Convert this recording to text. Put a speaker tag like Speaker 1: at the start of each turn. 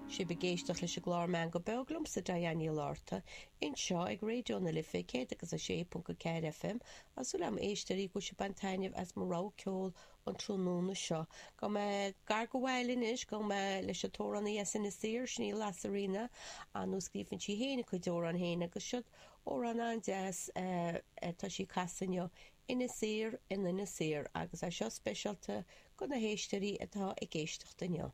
Speaker 1: Sibh ag éisteacht leis an gclár Meangadh Beo liomsa Diane Ní Fhlatharta, anseo ag Raidió na Life 106.4 FM. Tá súil agam a éisteoirí go bhfuil sibh ag baint taitneamh as mo rogha ceoil an tráthnóna seo. Gabhfaidh mé gar do bhaile anois, gabhfaidh mé leis an t-amhránaí as Inis Oírr, sin í Lasairfhíona, ar ndóigh scríobhann sí féin a cuid amhrán féin agus seod amhrán an-deas atá sí ag casadh inniu, Inis Oírr in Inis Oírr agus é seo speisialta do na héisteoirí atá ag éisteacht inniu.